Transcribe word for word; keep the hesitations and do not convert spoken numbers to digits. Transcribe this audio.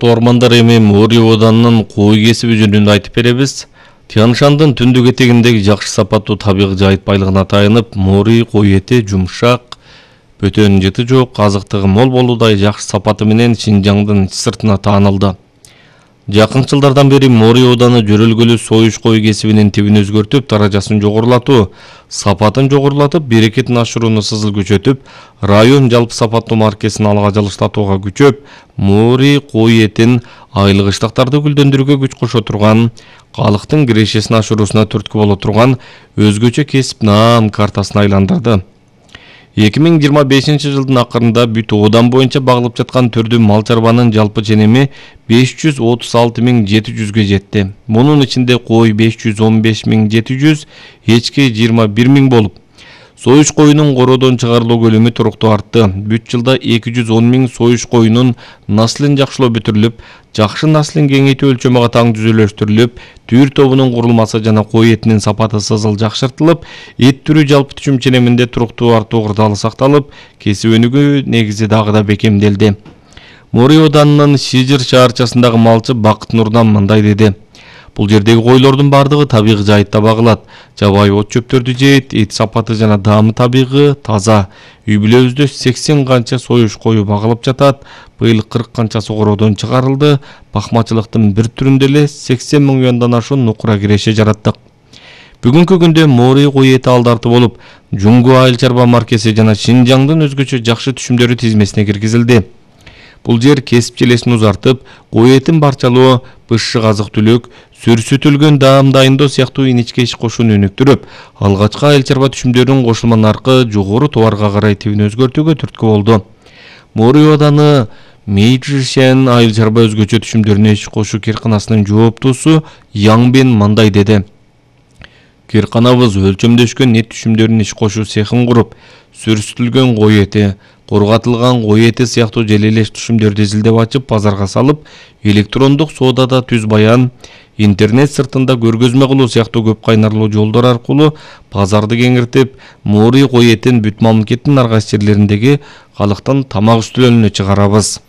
урматтуу ормандар, эми Мори Оданынын кой кесиби жөнүндө айтып беребиз. Тянь-Шандын түндүк этегиндеги жакшы сапаттуу табигый жайыт байлыгына таянып, Мори кой эти жумшак, бөтөн жыты жок, азыктыгы мол болуудай жакшы сапаты менен Шинжаңдын ич сыртына таанылды. Жакын жылдардан бери Мори Оданы жөрөлгөлүү союш кой кесибинин тибин өзгөртүп, даражасын жогорулатуу, сапатын жогорулатып, берекетин ашырууну сызыл күчөтүп, район жалпы сапаттуу маркесин алга жылыштатууга күчөп, Мори кой этин айлык-ыштыктарды гүлдөндүрүүгө күч кошо турган, калктын кирешесин ашыруусуна түрткү боло турган өзгөчө кесип наам картасына айландырды. эки миң жыйырма бешинчи жылдын акырында бүт Одан боюнча багылып жаткан түрдүү мал чарбанын жалпы ченеми беш жүз отуз алты миң жети жүзгө жетти. Мунун ичинде кой беш жүз он беш миң жети жүз, эчки жыйырма бир миң болуп, союш коюнун короодон чыгарылуу көлөмү туруктуу артты. Бүт жылда эки жүз он миң союш коюнун наслын жакшылоо бүтүрүлүп, жакшы наслын кеңейтүү өлчөмү катаң түзүлүштүрүлүп, түйүр тобунун курулмасы жана кой этинин сапаты сызыл жакшыртылып, эт түрү жалпы түшүм ченеминде туруктуу артуу кырдаалы сакталып, кесип өнүгүү негизи дагы да бекемделди. Мори Оданынын Шижир шаарчасындагы малчы Бакыт Нурдан мындай деди: Бул жердеги койлордун бардыгы табигый жайытта багылат. Жабайы от чөптөрдү жейт, эт сапаты жана даамы табигый, таза. Үй бүлөбүздө сексен канча союш кою багылып жатат. Быйыл кырк канчасы короодон чыгарылды. Бакмачылыктын бир түрүндө эле сексен миң юандан ашуун нукура киреше жараттык. Бүгүнкү күндө Мори кой эти алдарты болуп, Жуңгу айыл чарба маркеси жана Шинжаңдын өзгөчө жакшы түшүмдөрү тизмесине киргизилди. Бул жер кесип желесин узартып, кой этин барчалоо, бышшык азык-түлүк, сүрсүтүлгөн даам дайындоо сыяктуу иничке иш кошууну өнүктүрүп, алгачкы айыл чарба түшүмдөрүнүн кошулма наркы жогору товарга карай тибин өзгөртүүгө түрткү болду. Мори Оданы Мейжишен айыл чарба өзгөчө түшүмдөрүнө иш кошуу кирканасынын жооптуусу Яңбен мындай деди: Кирканабыз өлчөмдөшкөн эт түшүмдөрүнүн иш кошуу цехин куруп, сүрсүтүлгөн кой эти, корготулган кой эти сыяктуу желелеш түшүмдөрдү изилдеп ачып, базарга салып, электрондук соодада түз баян, интернет сыртында көргөзмө кылуу сыяктуу көп кайнарлуу жолдор аркылуу базарды кеңиртип, Мори кой этин бүт мамлекеттин ар кайсы жерлериндеги калктын тамак үстөлүнө чыгарабыз.